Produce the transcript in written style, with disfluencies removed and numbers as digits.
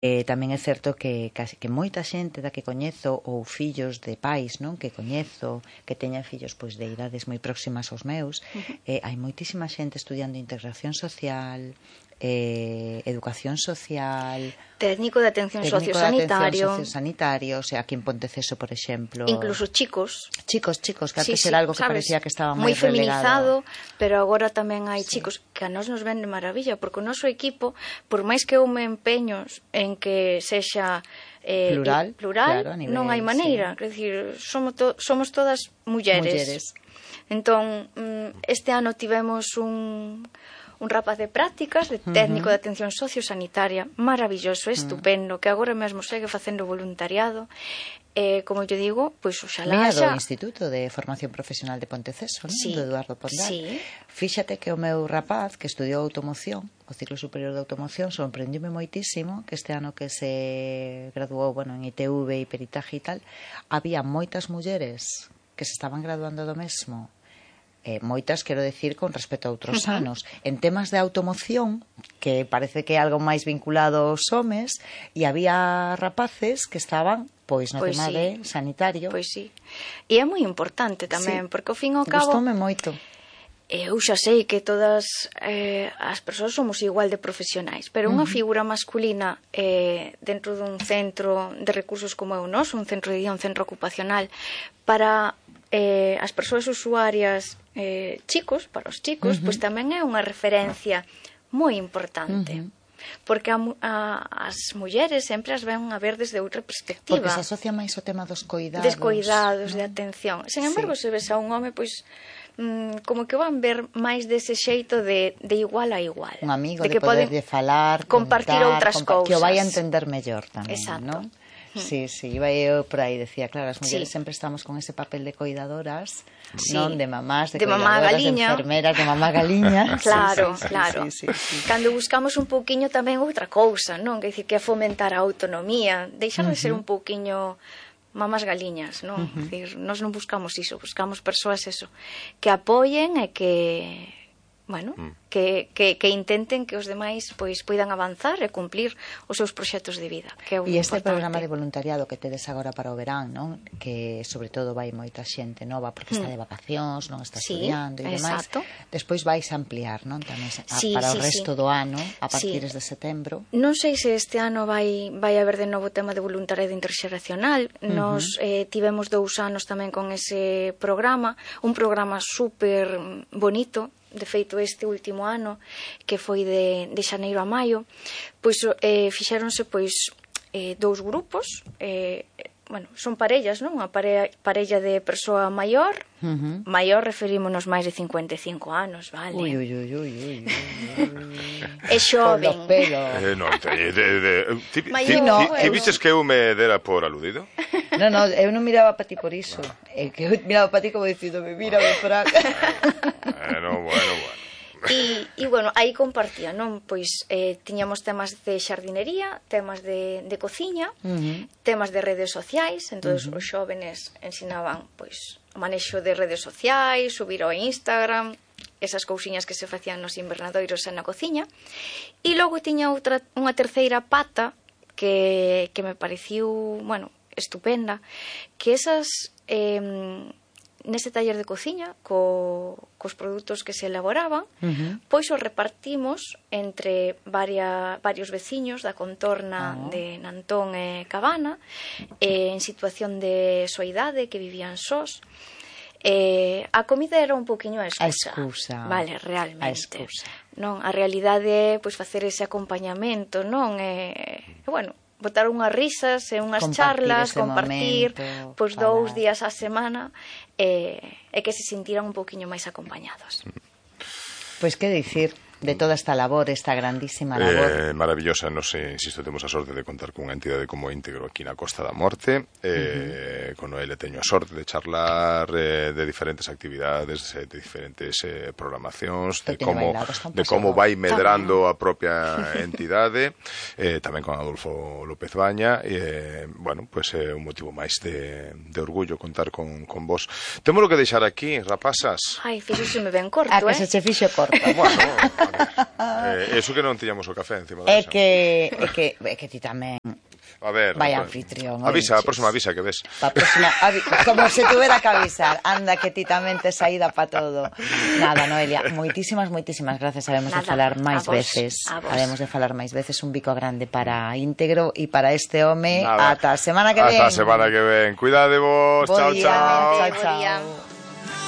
Tamén é certo que moita xente da que coñezo ou fillos de pais, non, que coñezo, que teñan fillos pois de idades moi próximas aos meus, hai moitísima xente estudiando integración social, educación social, técnico de atención sociosanitario, o sea, aquí en Ponteceso, por exemplo, incluso chicos, que antes era algo que parecía que estaba moi feminizado, pero agora tamén hai chicos que a nós nos ven de maravilla, porque o noso equipo, por máis que eu me empeño en que sexa plural, claro, non hai maneira, quer dicir, somos todas mulleres. Entón, este ano tivemos un rapaz de prácticas, de técnico de atención sociosanitaria, maravilloso, estupendo, que agora mesmo segue facendo voluntariado. Como eu digo, pois oxalá do Instituto de Formación Profesional de Ponteceso, non? Do Eduardo Pondal. Fíxate que o meu rapaz que estudiou automoción, o ciclo superior de automoción, sorprendiume moitísimo que este ano que se graduou, en ITV e peritaje e tal, había moitas mulleres que se estaban graduando do mesmo. Moitas, quero decir, con respecto a outros anos, en temas de automoción, que parece que é algo máis vinculado aos homes, e había rapaces que estaban no tema de sanitario. Pois sí, e é moi importante tamén, porque ao fin e ao cabo gustoume moito. Eu xa sei que todas as persoas somos igual de profesionais, pero unha figura masculina dentro dun centro de recursos como é o noso, un centro de día, un centro ocupacional, para as persoas usuarias para os chicos, pois tamén é unha referencia moi importante. Porque as mulleres sempre as ven a ver desde outra perspectiva. Porque se asocia máis o tema dos coidados. De atención. Sen embargo, se ves a un home, pois como que van ver máis dese xeito de igual a igual. Un amigo, de poder falar, compartir outras cousas. Que o vai a entender mellor tamén, non? Exacto. Sí, iba eu por aí, decía, claro, as mulleres sempre estamos con ese papel de coidadoras, non, de mamás, de coidadoras, de enfermeras, de mamá galiña. Claro. Cando buscamos un pouquiño tamén outra cousa, non? Que dicir, que é fomentar a autonomía, deixar de ser un pouquiño mamás galiñas, non? Dicir, nós non buscamos iso, buscamos persoas que apoien e que que intenten que os demais pois poidan avanzar e cumplir os seus proxectos de vida, que é e este programa de voluntariado que tedes agora para o verán, non? Que sobre todo vai moita xente nova porque está de vacacións, non está estudiando e demais. Despois vais a ampliar, non? Tamén para o resto do ano, a partir de setembro. Non sei se este ano vai haber de novo tema de voluntariado interxeracional. Nos tivemos 2 anos tamén con ese programa, un programa super bonito. De feito, este último ano, que foi de xaneiro a maio, pois fixéronse 2 grupos, son parellas, non? Unha parella de persoa maior, maior referímonos máis de 55 anos, vale? Ui. É xoven. Ti viches que eu me dera por aludido? Non, eu non miraba para ti por iso. É que eu miraba para ti como dicíndome, mírame para acá. Bueno. E aí compartía, non? Pois tiñamos temas de xardinería, temas de cociña, temas de redes sociais, entonces os xóvenes ensinaban pois o manexo de redes sociais, subir ao Instagram, esas cousiñas que se facían nos invernadoiros e na cociña. E logo tiña unha terceira pata que me pareciu, estupenda, que esas nese taller de cociña cos produtos que se elaboraban, pois os repartimos entre varios veciños da contorna de Nantón e Cabana, en situación de soidade, que vivían sós. A comida era un poquinho a excusa. Vale, realmente. Non, a realidade é pois facer ese acompañamento, non? Botar unhas risas e unhas charlas, compartir pois 2 días á semana e que se sentiran un poquinho máis acompañados. Pois que dicir de toda esta labor, esta grandísima labor. Maravillosa, nos insisto, temos a sorte de contar con unha entidade como Íntegro aquí na Costa da Morte. Con Noelia teño a sorte de charlar de diferentes actividades, de diferentes programacións, de como vai medrando a propia entidade, tamén con Adolfo López Baña. Pois é un motivo máis de orgullo contar con vos. Temos que deixar aquí, rapazas. Ai, fíxoseme ben corto, que se che fixo corto. Eso que non tiñamos o café encima da mesa. É que ti tamén. A ver, vai anfitrión. Avisa, a próxima avisa que ves. Como se tuvera que avisar. Anda que ti tamén te saída pa todo. Nada, Noelia, moitísimas gracias. Habemos de falar máis veces. Habemos de falar máis veces. Un bico grande para íntegro e para este home. Ata a semana que ven. Ata a semana que ven. Cuidade vos. Chao, chao. Chao.